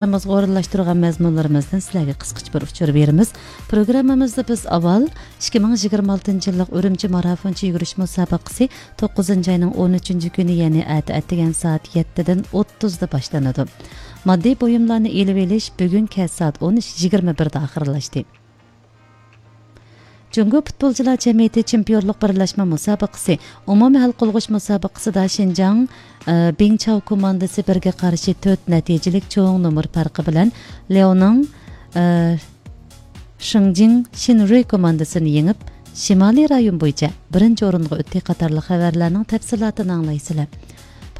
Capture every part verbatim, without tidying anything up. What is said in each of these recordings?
پروگراممىمىزغا ئورۇنلاشتۇرغان مەزمۇنلىرىمىزدىن سىلەرگە قىسقىچە بىر ئۇچۇر بېرىمىز. پروگراممىمىزدا بىز ئاۋۋال ئىككى مىڭ يىگىرمە ئالتىنچى يىللىق ئۈرۈمچى مارافونچە يۈگۈرۈش مۇسابىقىسى توققۇزىنچى ئاينىڭ ئون ئۈچىنچى كۈنى، يەنى ئەتە ئەتىگەن سائەت يەتتىدىن ئوتتۇزدا باشلىنىدۇ. ماددىي بۇيۇملارنى ئېلىۋېلىش بۈگۈن كەچ سائەت ئون ئۈچ يىگىرمە بىردە ئاخىرلاشتى. جۇڭگو پۇتبولچىلار جەمئىيىتى چېمپىيونلۇق بىرلەشمە مۇسابىقىسى ئومۇمىي ھەل قىلغۇچ مۇسابىقىسىدا شىنجاڭ، ئە، بىڭچاۋ كوماندىسى بىرگە قارشى تۆت نەتىجىلىك چوڭ نومۇر پەرقى بىلەن لياۋنىڭ، ئە، شىڭجىڭ شىنرۇي كوماندىسىنى يېڭىپ، شىمالىي رايون بويىچە بىرىنچى ئورۇنغا ئۆتتى قاتارلىق خەۋەرلەرنىڭ تەپسىلاتىنى ئاڭلايسىلەر.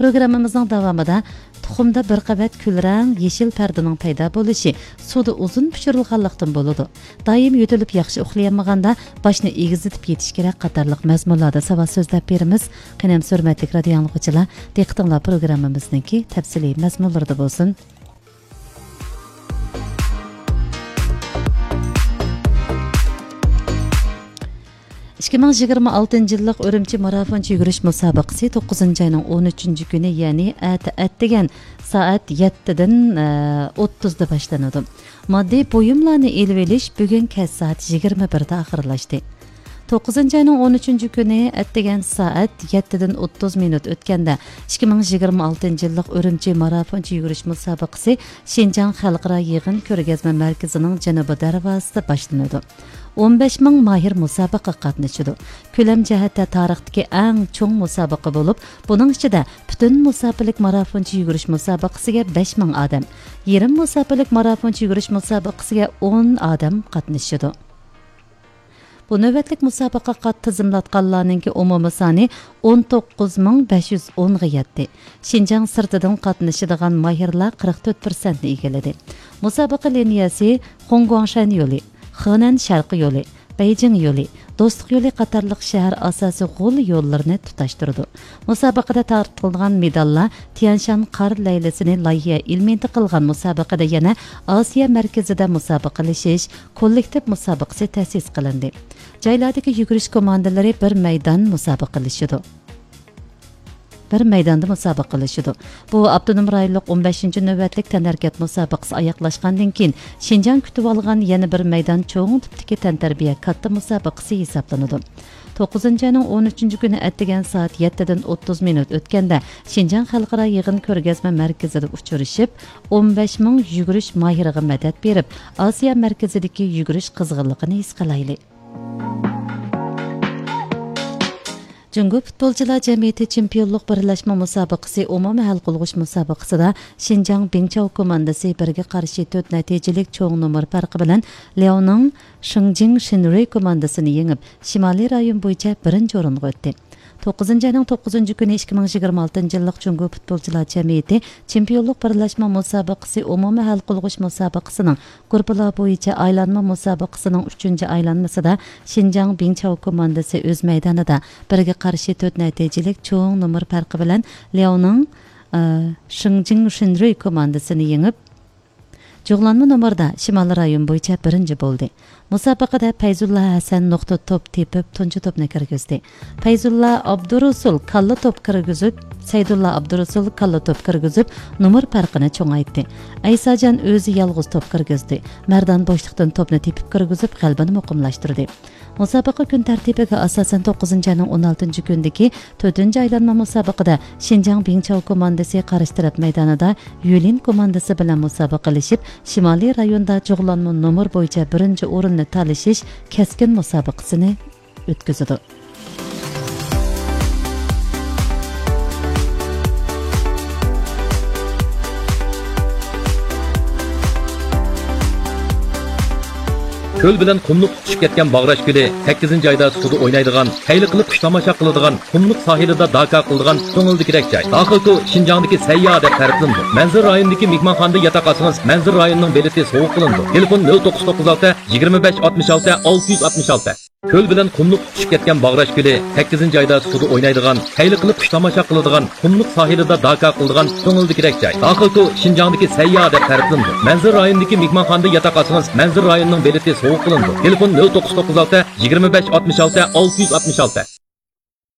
پروگراممىمىزنىڭ داۋامىدا تۇخۇمدا بىر قەۋەت كۈلرەڭ يېشىل پەردىنىڭ پەيدا بولۇشى سۇدا ئۇزۇن پىشۇرۇلغانلىقتىن بولىدۇ. دائىم يۆتىلىپ ياخشى ئۇخلىيالمىغاندا باشنى ئېگىزلىتىپ يېتىش كېرەك قاتارلىق مەزمۇنلاردا ساۋات سۆزلەپ بېرىمىز. قېنى ھەم ھۆرمەتلىك رادىئو ئاڭلىغۇچىلار، دىققىتىڭلار پروگراممىمىزنىڭكى تەپسىلىي مەزمۇنلىرىدا بولسۇن. ئىككى مىڭ يىگىرمە ئالتىنچى يىللىق ئۈرۈمچى مارافونچە يۈگۈرۈش مۇسابىقىسى توققۇزىنچى ئاينىڭ ئون ئۈچىنچى كۈنى، يەنى ئەتە ئەتىگەن سائەت يەتتىدىن، ئە، ئوتتۇزدا باشلىنىدۇ. ماددىي بۇيۇملارنى ئېلىۋېلىش بۈگۈن كەچ سائەت يىگىرمە بىردە ئاخىرلاشتى. توققۇزىنچى ئاينىڭ ئون ئۈچىنچى كۈنى ئەتىگەن سائەت يەتتىدىن ئوتتۇز مىنۇت ئۆتكەندە، ئىككى مىڭ يىگىرمە ئالتىنچى يىللىق ئۈرۈمچى مارافونچە يۈگۈرۈش مۇسابىقىسى شىنجاڭ خەلقئارا يىغىن كۆرگەزمە مەركىزىنىڭ جەنۇبىي دەرۋازىسىدا باشلىنىدۇ. ئون بەش مىڭ ماھىر مۇسابىقىگە قاتنىشىدۇ. كۆلەم جەھەتتە تارىختىكى ئەڭ چوڭ مۇسابىقە بولۇپ، بۇنىڭ ئىچىدە پۈتۈن مۇساپىلىك مارافونچە يۈگۈرۈش مۇسابىقىسىگە بەش مىڭ ئادەم، يېرىم مۇساپىلىك مارافونچە يۈگۈرۈش مۇسابىقىسىگە ئون ئادەم قاتنىشىدۇ. بۇ نۆۋەتلىك مۇسابىقىگە قات تىزىملاتقانلارنىڭكى ئومۇمىي سانى ئون توققۇز مىڭ بەش يۈز ئونغا يەتتى. شىنجاڭ سىرتىدىن قاتنىشىدىغان ماھىرلار قىرىق تۆت پىرسەنتنى ئىگىلىدى. مۇسابىقە لىنىيەسى خۇڭگۇاڭشەن يولى، خېنەن شەرقىي يولى، بېيجىڭ يولى، دوستلۇق يولى قاتارلىق شەھەر ئاساسىي غول يوللىرىنى تۇتاشتۇرىدۇ. مۇسابىقىدە تارقىتىلغان مېداللار تيەنشان قار لەيلىسىنى لايىھە ئېلېمېنتى قىلغان مۇسابىقىدە يەنە ئاسىيا مەركىزىدە مۇسابىقىلىشىش كوللېكتىپ مۇسابىقىسى تەسىس قىلىندى. جايلاردىكى يۈگۈرۈش كوماندىلىرى بىر مەيدان مۇسابىقىلىشىدۇ. بىر مەيداندا مۇسابىقىلىشىدۇ. بۇ ئاپتونوم رايونلۇق ئون بەشىنچى نۆۋەتلىك تەنھەرىكەت مۇسابىقىسى ئاياغلاشقاندىن كېيىن، شىنجاڭ كۈتۈۋالغان يەنە بىر مەيدان چوڭ تىپتىكى تەنتەربىيە كاتتا مۇسابىقىسى ھېسابلىنىدۇ. توققۇزىنچى ئاينىڭ ئون ئۈچىنچى كۈنى ئەتىگەن سائەت يەتتىدىن ئوتتۇز مىنۇت ئۆتكەندە، شىنجاڭ خەلقئارا يىغىن كۆرگەزمە مەركىزىدە ئۇچرىشىپ، ئون بەش مىڭ يۈگۈرۈش ماھىرىغا مەدەت بېرىپ، ئاسىيا مەركىزىدىكى يۈگۈرۈش قىزغىنلىقىنى ھېس قىلايلى. جۇڭگو پۇتبولچىلار جەمئىيىتى چېمپىيونلۇق بىرلەشمە مۇسابىقىسى ئومۇمىي ھەل قىلغۇچ مۇسابىقىسىدا شىنجاڭ بىڭچاۋ كوماندىسى بىرگە قارشى تۆت نەتىجىلىك چوڭ نومۇر پەرقى بىلەن لياۋنىڭ شىڭجىڭ شىنرۇي كوماندىسىنى يېڭىپ، شىمالىي رايون بويىچە بىرىنچى ئورۇنغا ئۆتتى. توققۇزىنچى ئاينىڭ توققۇزىنچى كۈنى ئىككى مىڭ يىگىرمە ئالتىنچى يىللىق جۇڭگو پۇتبولچىلار جەمئىيىتى چېمپىيونلۇق بىرلەشمە مۇسابىقىسى ئومۇمىي ھەل قىلغۇچ مۇسابىقىسىنىڭ گۇرۇپپىلار بويىچە ئايلانما مۇسابىقىسىنىڭ ئۈچىنچى ئايلانمىسىدا شىنجاڭ بىڭچاۋ كوماندىسى ئۆز مەيدانىدا بىرگە قارشى تۆت نەتىجىلىك چوڭ نومۇر پەرقى بىلەن لياۋنىڭ، ئە، شىڭجىڭ شىنرۇي كوماندىسىنى يېڭىپ، جۇغلانما نومۇردا شىمالىي رايون بويىچە بىرىنچى بولدى. مۇسابىقىدە پەيزۇللا ھەسەن نۇقتا توپ تېپىپ، تۇنجى توپنى كىرگۈزدى. پەيزۇللا ئابدۇرۇسۇل كاللا توپ كىرگۈزۈپ، سەيدۇللا ئابدۇرۇسۇل كاللا توپ كىرگۈزۈپ، نومۇر پەرقىنى چوڭايتتى. ئەيساجان ئۆزى يالغۇز توپ كىرگۈزدى. مەردان بوشلۇقتىن توپنى تېپىپ كىرگۈزۈپ، غەلىبىنى مۇقىملاشتۇردى. مۇسابىقە كۈن تەرتىپىگە ئاساسەن، توققۇزىنچى ئاينىڭ ئون ئالتىنچى كۈنىدىكى تۆتىنچى ئايلانما مۇسابىقىدە شىنجاڭ بىڭچاۋ كوماندىسى قارشى تەرەپ مەيدانىدا يۈلىن كوماندىسى بىلەن مۇسابىقىلىشىپ، شىمالىي رايوندا جۇغلانما نومۇر بويىچە بىرىنچى ئورۇننى تالىشىش كەسكىن مۇسابىقىسىنى ئۆتكۈزىدۇ. كۆل بىلەن قۇملۇق تۇتىشىپ كەتكەن باغراش كۆلى، سەككىزىنچى ئايدا سۇدا ئوينايدىغان، خەيلى قىلىپ قۇش تاماشا قىلىدىغان، قۇملۇق ساھىلىدا داكا قىلىدىغان كۆڭۈلدىكىدەك جاي. داخىلكو شىنجاڭدىكى سەيياھ دەپ تەرىپلىنىدۇ. مەنزىرە رايونىدىكى مېھمانخانىدا ياتاق ئالسىڭىز، مەنزىرە رايونىنىڭ بېلىتى سوۋغا قىلىنىدۇ. تېلېفون: نۆل توققۇز توققۇز ئالتە، يىگىرمە بەش، ئاتمىش ئالتە، ئالتە يۈز ئاتمىش ئالتە. كۆل بىلەن قۇملۇق تۇتىشىپ كەتكەن باغراش كۆلى، سەككىزىنچى ئايدا سۇدا ئوينايدىغان، خەيلى قىلىپ قۇش تاماشا قىلىدىغان، قۇملۇق ساھىلىدا داكا قىلىدىغان كۆڭۈلدىكىدەك جاي. داخىلكو شىنجاڭدىكى سەيياھ دەپ تەرىپلىنىدۇ. مەنزىرە رايونىدىكى مېھمانخانىدا ياتاق ئالسىڭىز، مەنزىرە رايونىنىڭ بېلىتى سوۋغا قىلىنىدۇ. تېلېفون: نۆل توققۇز توققۇز ئالتە، يىگىرمە بەش، ئاتمىش ئالتە، ئالتە يۈز ئاتمىش ئالتە.